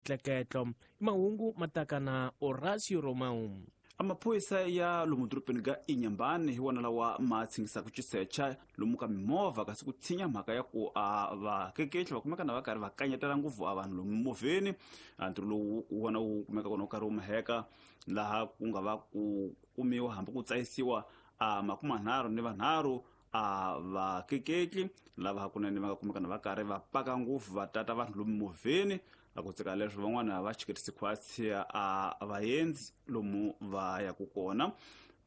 tleketlo. I mahungu ma taka na Horacio Romão. Amaphorisa ya lomu dorobeni ka Inhambane hi wona lawa ma tshingisaka xisecha lomu ka mimovha, kasi ku tshinya mhaka ya ku a vakeketli va kumeka na va karhi va kanyetela ngopfu a vanhu lomu mimovheni. A ntirho lowu wona wu kumeka kona wu karhi wu maheka laha ku nga va ku kumiwa hambi ku tsayisiwa a makumanharhu ni vanharhu a vakeketli lava hakunene va nga kumeka na va karhi va paka ngopfu va tata vanhu lomu mimovheni. A ku tseka leswo van'wana va chiketisi khwatsi a vaendzi lomu va yaku kona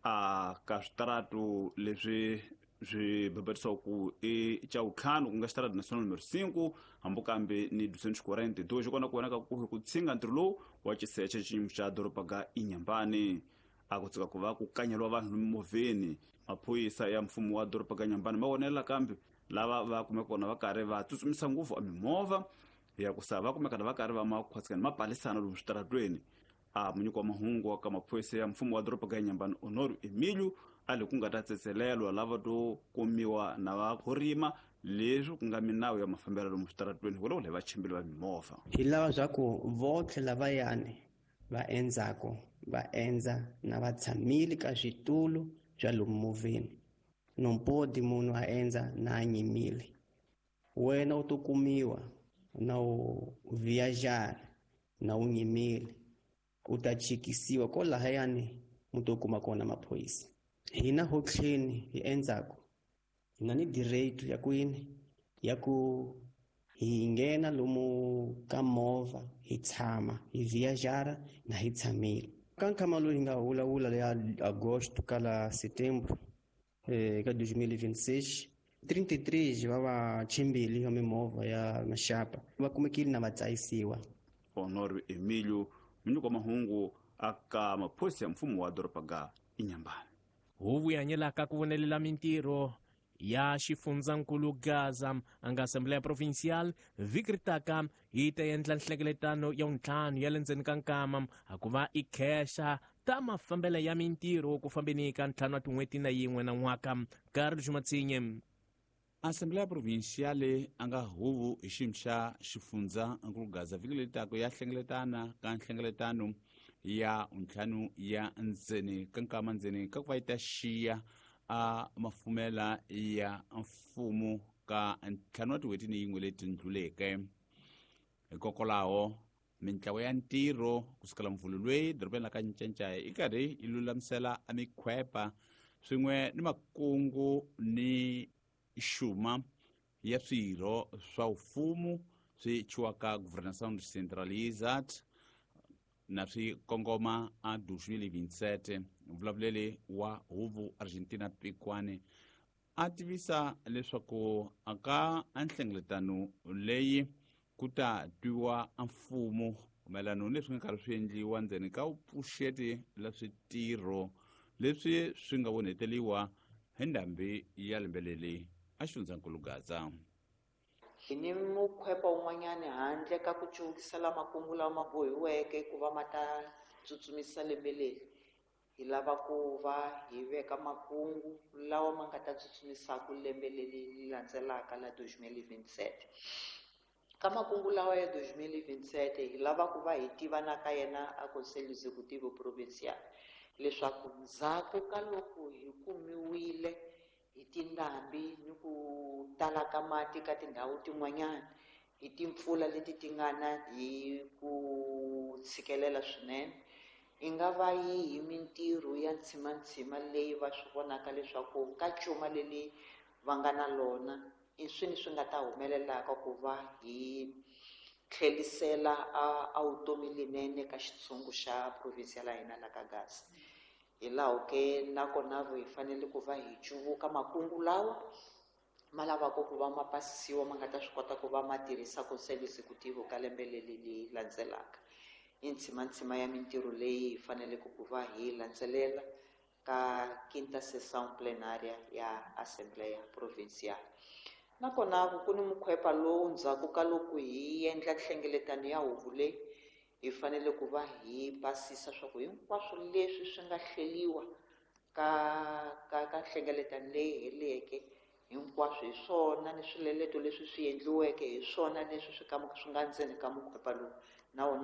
a ka switaratu leswi swi bebetisiwa ku i xa vutlhanu, ku nga xitaratu national numero 5 hambi kambe ni 242 xi kona ku vonaka ku ku tshinga ntirho lowu wa xiseche xiyimo xa doroba ga Inhambane. A ku tsika ku va ku kanyeriwa vanhu mimovheni. Maphorisa ya mfumo wa doroba ga Inhambane ma vonela kambe lava va kumeka kona va karhi va tsutsumisa ngopfu a mimovha ya ku sa va kumeka va karhi va makhwatsikani ma palisana lomu switaratweni. A munyiki wa mahungu wa ka maphorisa ya mfumo wa doroba ga Inhambane Honório Emílio a le ku nga ta tsetselelwa lava to kumiwa na va khorima leswi ku nga minawu ya mafambelo lomu switaratweni hikwalaho le vachimbili va mimovha. Hi lava swa ku votlhe lavayani va endzako va endza na va tshamile ka switulu swa lomu movheni. No podi munhu a endza na a nyimile. Wena u to kumiwa na u viajar na u nyimile, u ta chikisiwa kolahayani mu to kuma kona maphorisa. Hina hotlheni hi endzako hi na ni direito ya kwini ya ku hi nghena lomu ka movha hi tshama hi viajara na hi tshamile. Ka nkhama lowu hi nga vulavula ya agosto ka la setembro ka 2026, 33 va vachimbili va mimovha ya maxapa va kumekile na va tsayisiwa. Honório Emílio, munyiki wa mahungu aka maphorisa ya mfumo wa doroba ga Inhambane. Huvo yi hanyelaka ku vonelela mintirho ya xifundzankulu Gaza a nga Assembleia Provincial vhiki ri taka yi ta endla nhlengeletano ya vuntlhanu ya le ndzeni ka nkama a ku va i khexa ta mafambelo ya mintirho ku fambeni ka ntlhanu wa tin'hweti na yin'we na n'waka. Carlos Matsinye. Assembleia Provincial a nga huvo hi xiyimo xa xifundza nkulu Gaza vhiki leri taka ya hlengeletana ka nhlengeletano ya ntlhanu ya ndzeni ka nkama ndzeni ka ku va yi ta xiya a mafumela ya mfumo ka ntlhanu wa tin'hweti ni yin'we leti ndluleke. Hikokwalaho mintlawa ya ntirho kusukela mvhulu lweyi dorobeni la ka Ncancaya yi karhi yi lulamisela a mikhwepa swin'we ni makungu ni xuma ya swirho swa mfumo swi chiwaka Governação Descentralizada na swi kongoma a 2027. Vulavuleli wa huvo Argentina Pikwane a tivisa leswaku aka nhlengeletano leyi ku ta twiwa mfumo mayelana ni leswi nga karhi swi endliwa ndzeni ka vupfuxeti la switirho leswi swi nga vonheteliwa hi ndhambi ya lembe leri a xifundzankulu Gaza. Hi ni mukhwepa wun'wanyani handle ka ku cuvukisela makungu lawa ma bohiweke ku va ma ta tsutsumisa lembe leri. Hi lava ku va hi veka makungu lawa ma nga ta tsutsumisaka lembe leri landzelaka la 2027. Ka makungu lawa ya 2027 hi lava ku va hi tiva na ka yena a Conselho Executivo Provincial leswaku ndzhaku ka loko hi kumiwile hi tindhambi ni ku tala ka mati ka tindhawu tin'wanyana hi timpfula leti ti nga na hi ku tshikelela swinene, i nga va yihi mintirho ya ntshimantsima leyi va swi vonaka leswaku ka cuma leli va nga na lona i swini swi nga ta humelelaka ku va hi tlhelisela a vutomi linene ka xitshungu xa province la hina la ka Gaza. Hi laho ke nakona hi fanele ku va hi cuvuka makungu lawa ma lavaka ku va ma pasisiwa ma nga ta swi kota ku va ma tirhisa Conselho Executivo ka lembe leri leri landzelaka. I ntshimantsima ya mintirho leyi hi faneleke ku va hi landzelela ka quinta sessão plenária ya Assembleia Provincial. Nakona ku ni mukhwepa lowu ndzhaku ka loko hi endla nhlengeletano ya huvo leyi hi fanele ku va hi pasisa swa ku hinkwaswo leswi swi nga hleriwa ka nhlengeletano leyi heleke hinkwaswo hi swona ni swileleto leswi swi endliweke hi swona leswi swi ka swi nga ndzeni ka mukhwepa lowu na wona.